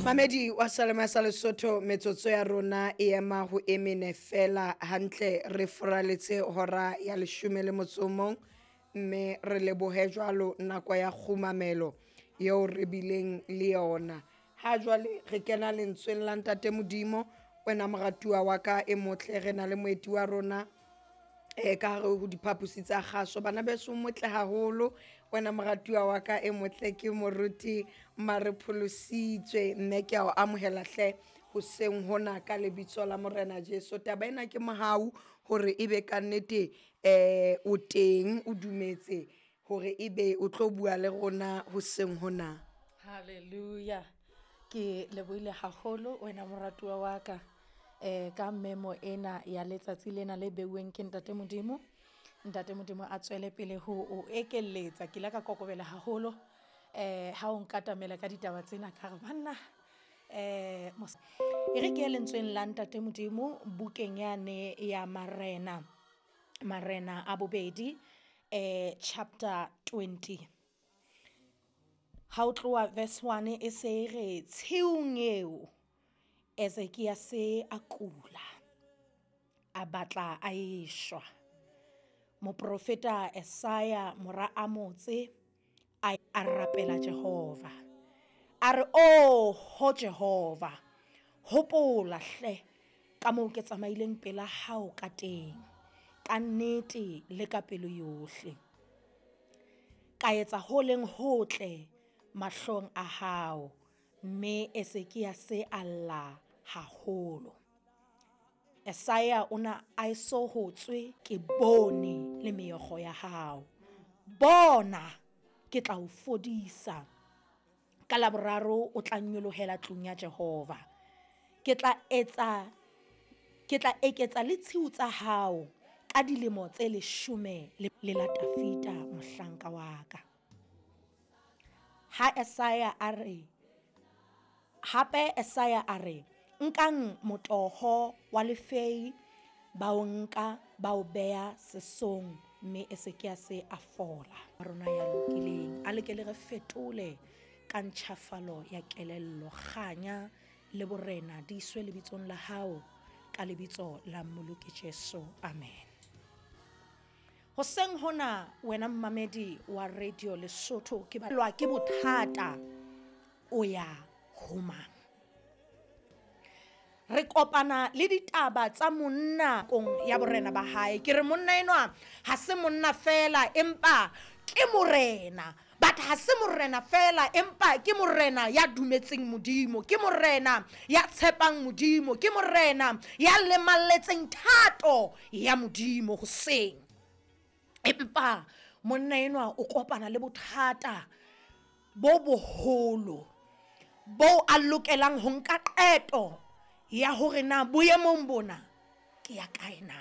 Mamedi wa Salema sa Lesotho, metsotso ya rona e ema ho emene fela hantle, re furaletse hora ya leshome le motso o mong, mme re lebohe jwalo nako ya kgumamelo eo re bileng le yona. Ha jwale re kena lentsweng la Ntate Modimo, wena moratuwa wa ka e motle, re na le moeti wa rona ka hare ho diphaposi tsa kgaso. Bana beso, motle haholo wena moratuwa wa ka e motle, ke moruti Mare Pholositswe, mme ke a o amohela hle hoseng hona ka lebitso la Morena Jesu. Taba ena ke mohau hore ebe kannete o teng, o dumetse hore ebe o tlo bua le rona hoseng hona. Hallelujah. Ke lebohile haholo wena moratuwa wa ka ka memo ena ya letsatsi lena le beuweng ke Ntate Modimo. Ntate Modimo a tswele pele ho o ekelletsa. Ke ile ka kokobela haholo ha o nkatamela ka ditaba tsena, ka re banna e re ke lentsweng la Ntate Modimo bukeng yane ya Marena, Marena a bobedi, chapter 20. Ha o tloha verse 1 e se e re, tshiung eo Ezekiase a kula, a batla a eshwa. Moprofeta Esaya mora Amotse a rapela Jehova. A re, "Oho Jehova, hopola hle ka moo ke tsamaileng pela hao ka teng, ka nnete le ka pelo yohle. Ka etsa ho leng hotle mahlong a hao." Mme Ezekiase a lla haholo. Esaya o na a eso ho tswe, ke bone le meokgo ya hao. Bona, ke tla o fodisa. Ka Laboraro o tla nyolohela tlung ya Jehova. Ke tla etsa, ke tla eketsa le tshiu tsa hao ka dilemo tse 10 le la Tafita mohlanka wa ka. Ha Esaya a re, hape Esaya a re, nkang motoho wa lefei, ba o nka ba o beha sesong, mme Ezekiase a fola. Rona ya lokileng, a leke le re fetole ka ntjhafalo ya kelello, kganya le borena di iswe lebitsong la hao, ka lebitso la Mmoloki Jesu, amen. Hoseng hona wena mmamedi wa Radio Lesotho, ke balwa ke bothata, o ya ho mang? Re kopana le ditaba tsa monna kong ya borena ba hae. Ke re monna enwa ha se monna fela, empa ke morena. But ha se morena fela, empa ke morena ya dumetseng Modimo, ke morena ya tshepang Modimo, ke morena ya lemalletseng thato ya Modimo hoseng. Empa monna enwa o kopana le bothata bo boholo bo a lokelang ho nka qeto ya hore na boemong bona ke ya kae na.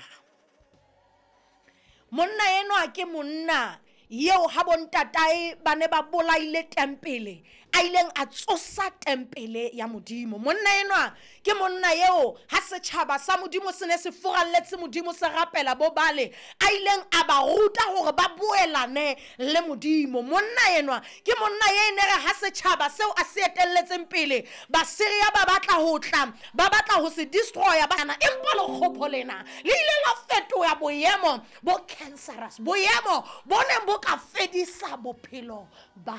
Monna enwa ke monna eo ha bontatae ba ne ba bolaile tempele, a ileng a tsosa tempele ya Modimo. Monna enwa ke monna eo ha setjhaba sa Modimo se ne se furalletse Modimo, se rapela bo bale, a ileng a ba ruta hore ba boelane le Modimo. Monna enwa ke monna ye ne re ha setjhaba seo a se etelletseng pele, Basiria ba batla ho tla, ba batla ho se destroya bana, empa lekgopo lena le ile la fetoha boemo bo cancerous, boemo bo neng bo ka fedisa bophelo ba.